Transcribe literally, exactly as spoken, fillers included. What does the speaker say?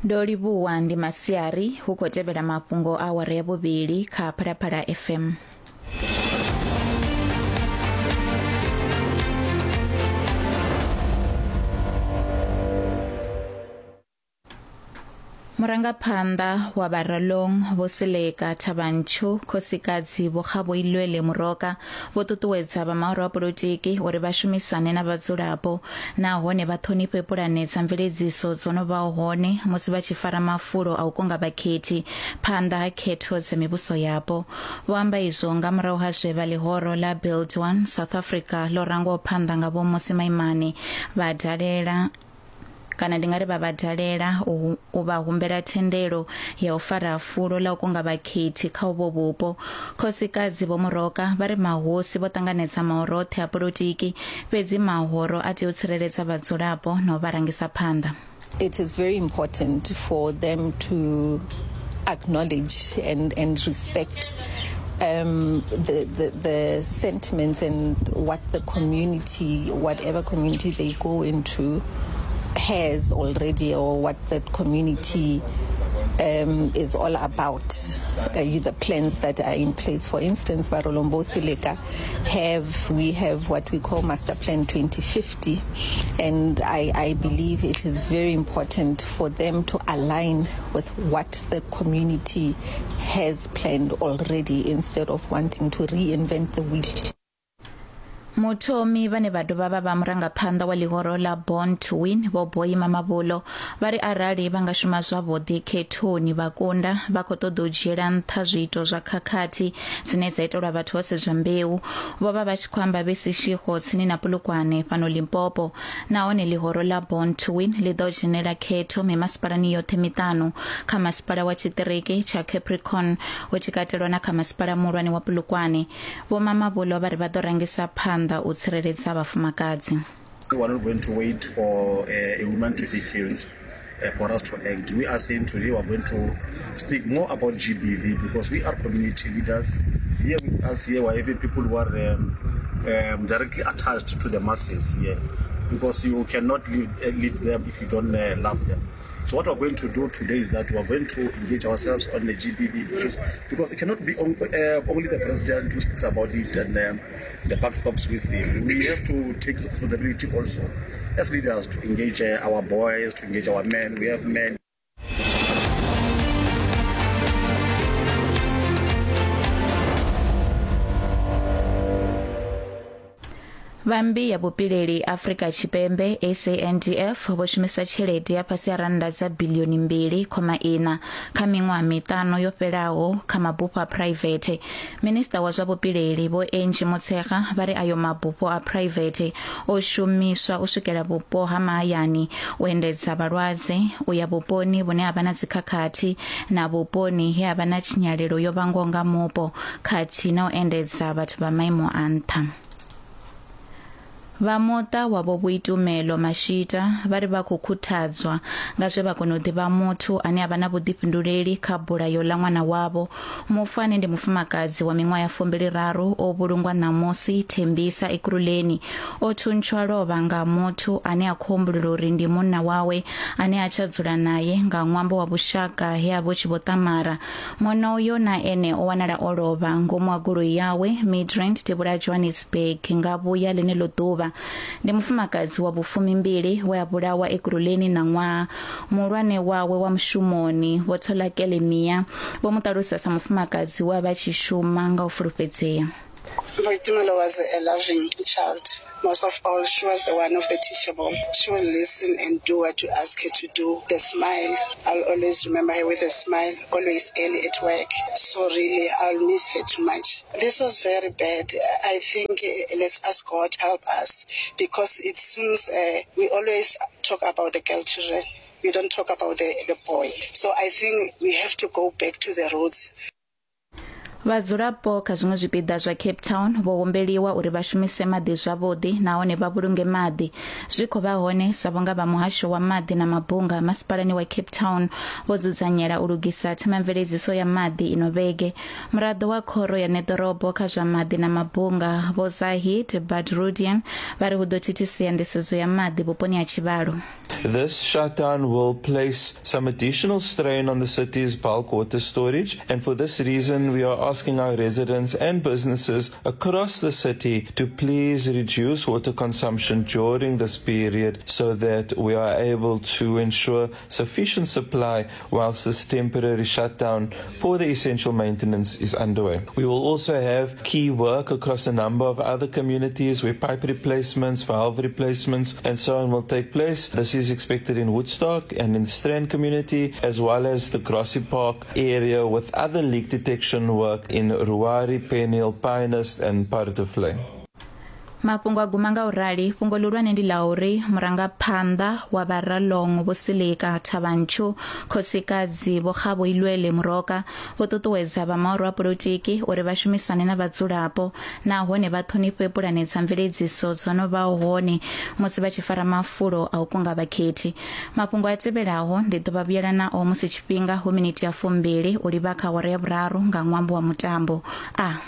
Ndo livhuwa ndi masiari hu khou tevhela mafhungo a awara ya vhuvhili kha Phalaphala F M. Murangaphanḓa wa Baralong Vho Seleka Thabanchu khosikadzi Vho Kgaboilwele Moroka vho ṱuṱuwedza vha mahoro a polotiki uri vha shumisane na vhadzulapo nahone vha ṱhonifhe pulane dza mveledziso dzo no vhaho hone musi vha tshi fara mafulo a u kunga vhakhethi phanḓa ha khetho dza mivhuso yapo. Vho amba izwo nga murahu ha zwe vha ḽihoro ḽa Build One South Africa ḽo rangwaho phanḓa nga Vho Mmusi Maimane vha dalela kana ndi nga ri vha vha dalela u vha humbela thendelo ya u fara fulo ḽa u kunga vhakhethi kha uvho vhupo. Khosikadzi Vho Moroka vha ri mahosi vho ṱanganedza mahoro oṱhe a polotiki, fhedzi mahoro a tea u tsireledza vhadzulapo na u vha rangisa phanḓa. It is very important for them to acknowledge and, and respect Um, the, the, the sentiments and what the community, whatever community they go into, has already, or what the community um, is all about, uh, the plans that are in place. For instance, Barolong Bo Seleka have, we have what we call Master Plan twenty fifty, and I, I believe it is very important for them to align with what the community has planned already instead of wanting to reinvent the wheel. Muthomi vhane vha dovha vha vha murangaphanḓa wa ḽihoro ḽa Born to Win Vho Boyi Mamabolo vha ri arali vha nga shuma zwavhuḓi khethoni vha kunda, vha khou ṱoḓa u dzhiela nṱha zwiito zwa khakhathi dzine dza itelwa vhathu vho sedzwa mbeu. Vho vha vha tshi khou amba vhe Seshego tsini na Polokwane fhano Limpopo, nahone ḽihoro ḽa Born to Win ḽi ḓo dzhenela khetho mimasipalani yoṱhe miṱanu kha masipala wa tshiṱiriki tsha Capricorn hu tshi katelwa na kha masipala muhulwane wa Polokwane. Vho Mamabolo vha ri vha ḓo rangisa phanḓa u tsireledza vhafumakadzi. We are not going to wait for a woman to be killed for us to act. We are saying today we are going to speak more about G B V because we are community leaders. Here with us here we are even people who are um, um, directly attached to the masses here, because you cannot lead, lead them if you don't uh, love them. So what we're going to do today is that we're going to engage ourselves on the G B V issues, because it cannot be on, uh, only the president who speaks about it and um, the buck stops with him. We have to take responsibility also as leaders to engage uh, our boys, to engage our men. We have men. Vhambi ya vhupileli Afrika Tshipembe S A N D F vho shumisa tshelede ya fhasi ha rannda dza bilioni mbili khoma ina kha miṅwaha miṱanu yo fhelaho kha mabufho a private. Minista wa zwa vhupileli Vho Angie Motshekga vha ri ayo mabufho a private o shumiswa u swikela vhupo ha mahayani, u endedza vhalwadze u ya vhuponi vhune ha vha na dzikhakhathi na vhuponi he ha vha na tshinyalelo yo vhangwaho nga mupo, khathihi na u endedza vhathu vha maimo a nṱha. Vha muṱa wa Vho Boitumelo Mashita vha ri vha khou khuthadzwa nga zwe vha kona u ḓivha muthu ane a vha na vhuḓifhinduleli kha bulayo ḽa ṅwana wavho. Mufu ane ndi mufumakadzi wa miṅwaha ya fumbili raru o vhulungwa ṋamusi Thembisa Ekurhuleni o thuntshwa lovha nga muthu ane a khou humbulela uri ndi munna wawe ane a tsha dzula naye nga ṅwambo wa vhushaka he a vha tshi vho ṱamara. Munna uyo na ene o wanala o lovha ngomu ha goloi yawe Midrand devhula Johannesburg nga vhuya ḽeneḽo ḓuvha. Ndi mufumakadzi wa vhufumimbili we a vhulawa Ekurhuleni ṋaṅwaha. Muhulwane wawe wa mushumoni Vho Tholakele Mia vho mu ṱalusa sa mufumakadzi we a vha tshi shuma nga u fulufhedzea. Boitumelo was a loving child. Most of all, she was the one of the teachable. She will listen and do what you ask her to do. The smile, I'll always remember her with a smile, always early at work. So really, I'll miss her too much. This was very bad. I think uh, let's ask God help us, because it seems uh, we always talk about the girl children. We don't talk about the, the boy. So I think we have to go back to the roots. Vhadzulapo kha zwiṅwe zwipiḓa zwa Cape Town vho humbeliwa uri vha shumise maḓi zwavhuḓi nahone vha vhulunge maḓi. Zwi khou vha hone sa vhunga vha muhasho wa maḓi na mabunga masipalani wa Cape Town vho dzudzanyela u lugisa themamveledziso ya maḓi ino vhege. Muraḓo wa khoro ya ṋeḓorobo kha zwa maḓi na mabunga Vho Zahid Badruddin vha ri hu ḓo thithisea nḓisedzo ya maḓi vhuponi ha tshivhalo. This shutdown will place some additional strain on the city's bulk water storage, and for this reason we are asking our residents and businesses across the city to please reduce water consumption during this period so that we are able to ensure sufficient supply whilst this temporary shutdown for the essential maintenance is underway. We will also have key work across a number of other communities where pipe replacements, valve replacements and so on will take place. This is expected in Woodstock and in the Strand community, as well as the Grassy Park area, with other leak detection work in Ruari, Peniel, Pinehurst and Paardevlei. Mafhungo a guma nga u rali. Fhungo ḽihulwane ndi ḽa uri murangaphanḓa wa Vharalong Vho Silika Thabanchu Khosikadzi Vho Kgaboilwele Moroka vho ṱuṱuwedza vha mahoro a polotiki uri vha shumisane na vhadzulapo nahone vha ṱhonifhe pulane dza mveledziso dzo no vhaho hone musi vha tshi fara mafulo a u kunga vhakhethi. Mafhungo a tevhelaho ndi ḓo vha vhuyela nao musi tshifhinga hu miniti ya fumbili u livha kha awara ya vhuraru nga ṅwambo wa mutambo. A